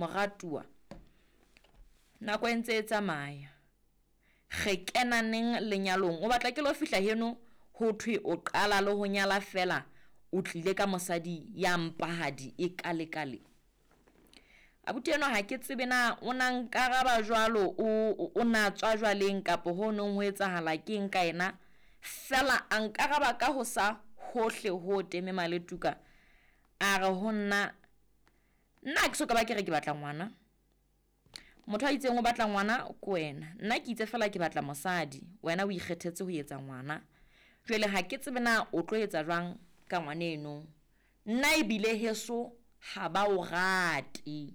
Moratuwa, nako e ntse e tsamaya, re kena neng lenyalong? O batla ke lo fihla heno ho thwe o qala le ho nyala fela o tlile ka mosadi ya mpahadi e kalekale. Abuti enwa ha ke tsebe na o na nkaraba jwalo, o na tswa jwaleng kapa ho nong ho etsahala keng ka ena. Fela a nkaraba ka ho sa hohle ho teme maletuka. A re ho nna, nna ha ke so ka ba ke re ke batla ngwana. Motho a itseng o batla ngwana ke wena. Nna ke itse fela ke batla mosadi, wena o ikgethetse ho etsa ngwana. Jwale ha ke tsebe na o tlo etsa jwang ka ngwana eno. Nna ebile heso ha ba o rate.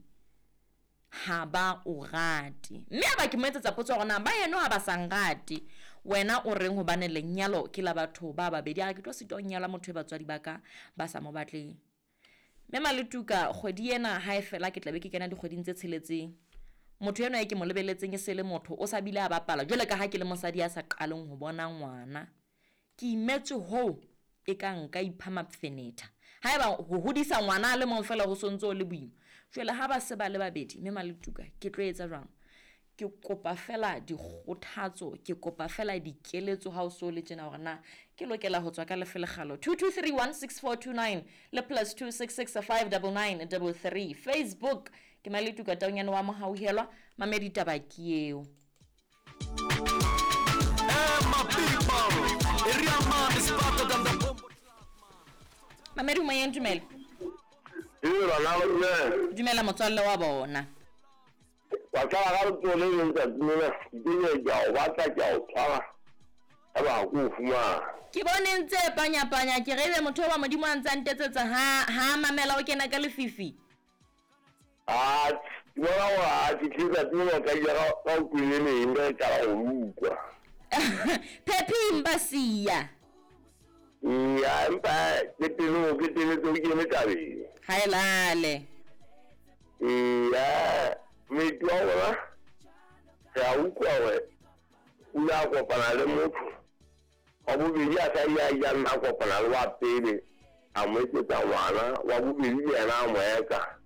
Ha ba o rate. Mme ha ba ke mo etsetsa potso hore na ba heno ha ba sa nrate, wena o reng hobane lenyalo ke la batho ba babedi? A re ke tlo sitwa ho nyala motho e batswadi ba ka ba sa mo batleng. Mme Maletuka, kgwedi ena ha e fela ke tla be ke kena dikgweding tse tsheletseng. Motho enwa e ke mo lebeletseng e se le motho, o sa bile a bapala jwale ka ha ke le mosadi ya sa qaleng ho bona ngwana. Ke imetswe hoo e ka nka ipha mafenetha. Haeba ho hodisa ngwana a le mong fela ho sontso o le boima, jwale ha ba se ba le babedi, mme Maletuka, ke tlo etsa jwang? Ke kopa fela dikgothatso, ke kopa fela dikeletso ha o so le tjena hore na ke lokela ho tswa ka lefe lekgalo. 22316429 le plus 266599933. Facebook ke Maletuka Taunyane wa Mohauhelwa, mamedi taba ke eo. Mamedi moyeng, dumela. Dumela motswalle wa bona. Wa qala ka letsoho le leng tsatsi lena, ke ke ke a o batla, ke a o tshwara, eba ha ke o fumana. Ke bone ntse panya-panya, ke re ebe motho wa Modimo a ntse a ntetsetsa ha ha mamela o kena ka lefifi. Ah, ke bona hore ha ke tle tsatsi lena ka ile ka o kwele leng ka qala ho utlwa. Phephi mpa siya. Ya, empa ke telo ke teletse o kene tabeng. Ha e lale. Ya, moeti wa rona re a utlwa hore o ile a kopana le motho wa bobedi a sa ile a ile a nna a kopana le wa pele a mo etsetsa ngwana wa bobedi le yena a mo eka.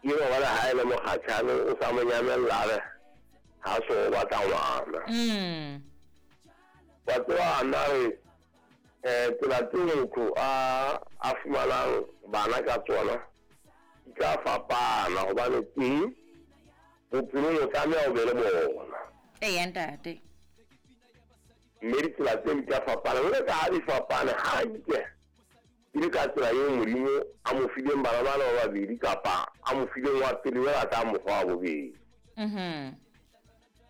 Ke eno jwale ha e le mokgatjhane o sa mo nyamella a re ha so o batla ngwana. Wa tseba nna re tsela tseo motho a fumanang bana ka tsona di tla fapana hobane teng bophelong o tlameha o be le bona. Eya ntate. Mme ditsela tseo di tla fapana, jwale ka ha di fapane hantle e le ka tsela eo Modimo a mo fileng bana bana ba babedi kapa a mo fileng wa pele jwale a tla mo fa wa bobedi.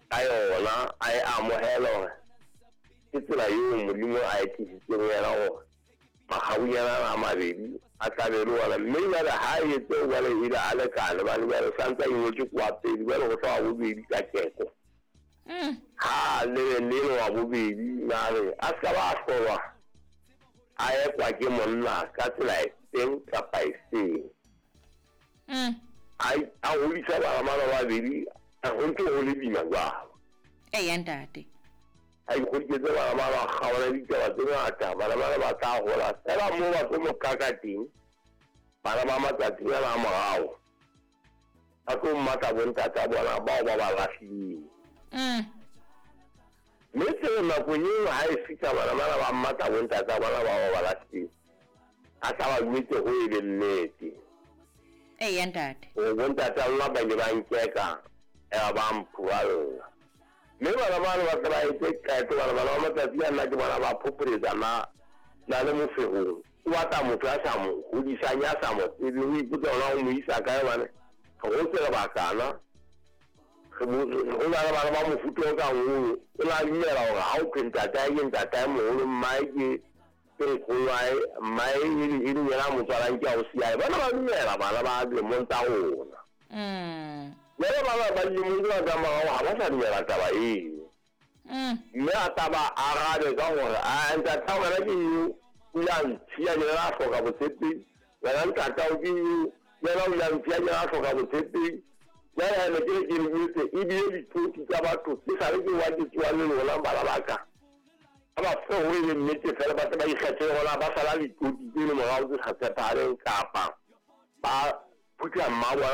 Ka yona a e amohela hore ke tsela eo Modimo a e tlisitseng ho yena hore makgabunyana ana a mabedi a tla be le ona. Mme jwale ha e etse jwale ebile a lekane bane jwale o santse a ingwetse ke wa pele jwale ho tla wa bobedi ka keko. Ha le le wa bobedi na re a ska ba hlolwa a ekwa ke monna ka tsela e feng kapa e feng. A hodisa bana ba babedi ho ntse ho le boima jwalo. Eya ntate. A ikgodisetse bana ba ba kgaola ditaba tse ngata, bana bana ba tla hola fela moo ba tlo mo kaka teng. Bana ba matsatsing ana a morao ba tlo mmatla bontata bona bao ba ba lahlileng. Mme tseo nako eo ha e fihla bana bana ba mmatla bontata bona bao ba ba lahlileng, a tla ba jwetse ho e le nnete. Eya ntate. Hore bontata lona ba ile ba nkeka eba ba mphuralla. Mme bana bano ba tle ba etse qeto, bana bana ba matsatsi a nna ke bona ba phopholetsa na le mofehong. O batla motho ya sa mo hodisang, ya sa mo tsebeng, o ipotsa hore na o mo isa kae hobane re hotse re batlana. Ho na le bana ba mofuta o kang oo, o na dumela hore ha o thwe ntatae ke ntatae moholo, mmae ke nkgonoae, mmae e le yena a mo tswalang ke ausi ya hae. Bana ba dumela bana ba dilemong tsa rona. Jwale bana ba dilemong tsena tsa morao ha ba sa dumela taba eo. Mme a tla ba arabe ka hore a ntatao wena ke eo o ile a ntshiya ke yena a hloka botshepehi, wena ntatao ke eo yena o ile a ntshiya ke yena a hloka botshepehi. Jwale ha ne ke re ke le jwetse ebile ditsotsi tsa batho ke sale ke wa ke tsoa le lona bana ba ka. Ha ba fe ho e le nnete fela ba tle ba ikgethele hore na ba sala ditsotsi tse le morao tse sa tshepahaleng kapa ba phutha mma bona.